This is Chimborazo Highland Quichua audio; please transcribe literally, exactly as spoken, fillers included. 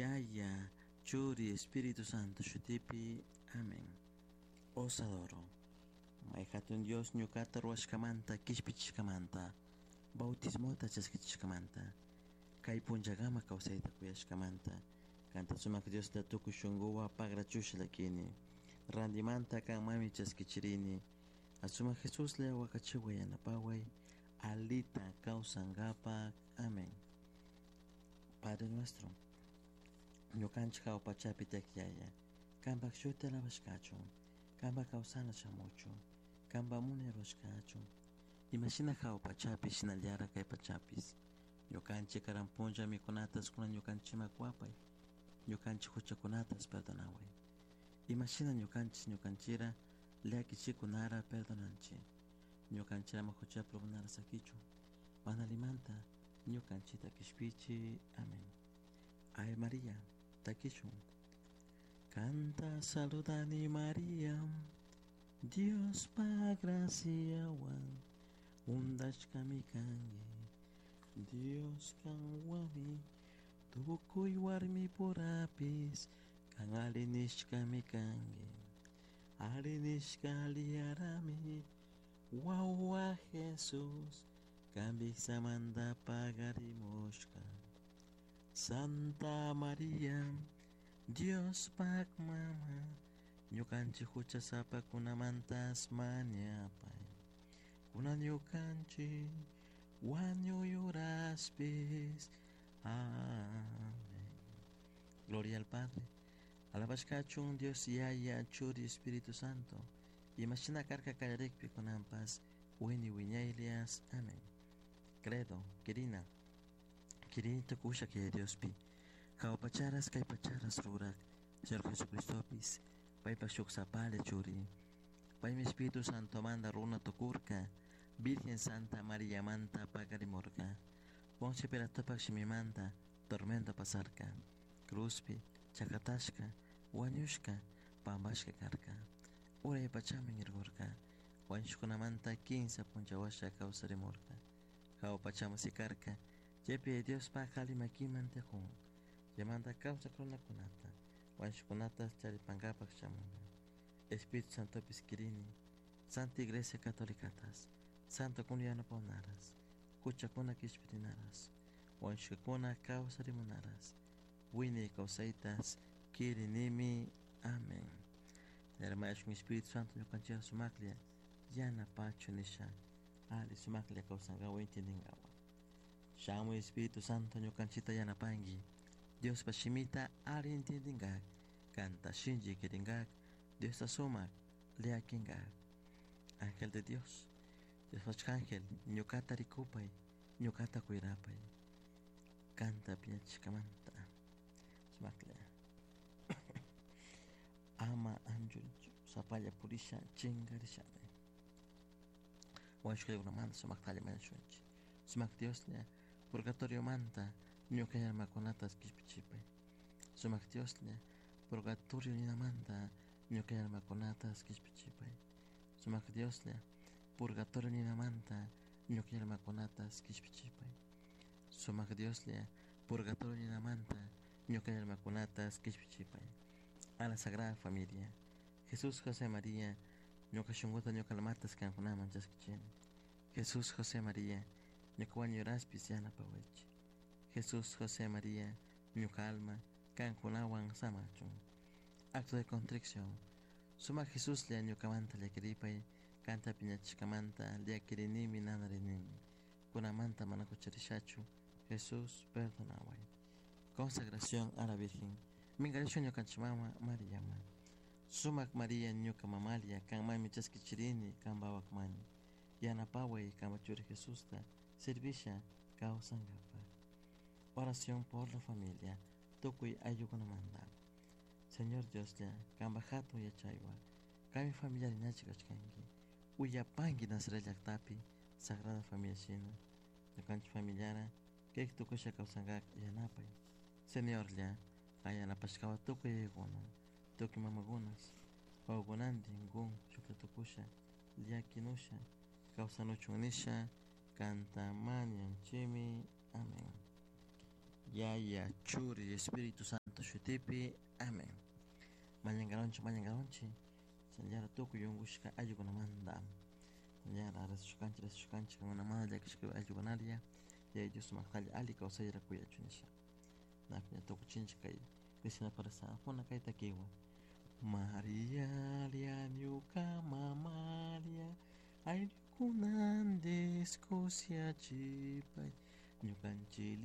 Yaya, Churi, Espíritu Santo shutipi. Amén. Os adoro. May hatun Dios ñuqata ruwashkamanta kishpichishkamanta bautismota chaskichishkamanta kay punllakama kawsayta kuyashkamanta kanta sumak Diosta tukuy shunkuwan pagrachusha llakini randimanta kanmanmi chaskichirini asumak Jesuslla wakachiway yanapaway alita kawsankapak. Amén. Padre nuestro, ñukanchik hawa pachapi tiyak Yaya, kanpak shuti alabashkachun, kanpak kawsana shamuchun, kanpak munay rurashkachun, imashina hawa pachapi shinallara kay pachapis. Ñukanchik karan punlla mikunatas kunan ñukanchikman kuwapay, ñukanchik huchakunatas perdonaway. Imashina ñukanchik ñukanchira llakichikunara perdonanchik. Ñukanchik ama huchapi urmanara sakichun, mana allimanta ñukanchikta kishpichi. Amén. Ave María, takishun. Kanta saludani María, Diospa graciawan undashkami kanki. Dios kanwanmi tukuy warmipurapis kan alli nishkami kanki. Alli nishka aliyarami wawa Jesús kanpi samanta pagarimushka. Santa María, Diospak mama, ñukanchik huchasapakunamantas mañapay. Kunan ñukanchik wañuy uraspis. Amén. Gloria al Padre. Alabashkachun Dios Yaya, Churi, Espíritu Santo. Imashina karka kallarikpi kunanpas wiñay wiñaylias. Amén. Credo, quirina. Quirini tukusha Yaya Diospi. Hawa pacharas kay pacharas rurak. Señor Jesucristopis. Paypak shuk sapalla churi. Paymi Espíritu Santo manda runa tukurka. Virgen Santa María manta pakarimurka. Poncio Pilatopak shimimanta tormento pasarka. Cruzpi, chakatashka, wañushka, pampashka karka. Uray pachaman irkurka. Wañushkunamanta kinsa punlla kawsarimurka. Hawa pachaman sikarka. Chaypi Diospak alli makiman tiyakun. Chaymanta kawsak runakunata, wañushkunata charipankapak shamunka. Espíritu Santopis kirini, Santa Iglesia Catolicatas, Santo kun yanapawnaras, huchakuna kishpirinaras, wañushkakuna kawsarimunaras, wiñay kawsaytas kirinimi. Amén. Hermano Espíritu Santo ñukanchik sumaklla yanapachu nisha ali sumaklla kawsankawa intindinkawa. Shamuy Espíritu Santo ñukanchikta yanapanki, Diospa shimita ali intindingak, kanta shinchi kiringak, Diosta sumak llakinkak. Ángel de Dios, Dios ángel, ñukata rikupay, ñukata cuirapay. Kanta piñachishkamanta sumaklla. Ama anchurichu sapalla purisha chinkarishami. Wañushkakunamanta sumaktalla mañashunchik. Sumak Dioslla purgatoriomanta ñuka almakunata kishpichipay. Sumak Dioslla purgatorio ninamanta ñuka almakunata kishpichipay. Sumak Dioslla purgatorio ninamanta ñuka almakunata kishpichipay. Sumak Dioslla purgatorio ninamanta ñuka almakunata kishpichipay. A la Sagrada Familia, Jesús, José, María, ñuka shunkuta ñuka almatas kankunaman chaskichini. Jesús, José, María, ñuka wañuraspis yanapawaychik. Jesús, José, María, ñuka alma kankunawan samachun. Acto de contrición. Sumak Jesuslla ñukamanta llakiripay, kanta piñachishkamanta llakirinimi nanarinimi. Kunamanta mana hucharishachu. Jesús, perdonaway. Consagración a la Virgen. Minkarishun ñukanchik mama Mariama. Sumak María ñuka mamalla, kanmanmi chaskichirini, kanpa wawakmani. Yanapaway kanpa churi Jesusta, servisha kawsankapak. Oración por la familia, tukuy ayllukunamanta. Señor Dioslla, kanpa hatun yachaywan, kanmi familiar ñachi kashkanki. Uyapanki Nazaret llaktapi, Sagrada Familia shina. Ñukanchik familiara, kayka tukusha kawsankak yanapay. Señorlla, kan yanapashkawa tukuy yayakuna, tukuy mamakunas, wawakunantin kun shuklla tukusha, llakinusha, kawsanuchun nisha, kanta mañanchimi. Amén. Yaya, Churi, Espíritu Santo shutipi. Amén. Mañangaronchi, mañangaronchi. Shinallara tukuy unkushka ayllukunamanta. Shinallara rezashukanchik, rezashukanchik kankunamanta llakishka ayllukunalla Yaya Dios sumaktalla alli kawsayra kuyachun nisha. Ña tukuchinchik kay Cristina rezakuna kay takiwan. Maria, ñuka mamaria, ayllukunandish kushiachipay ñukanchik.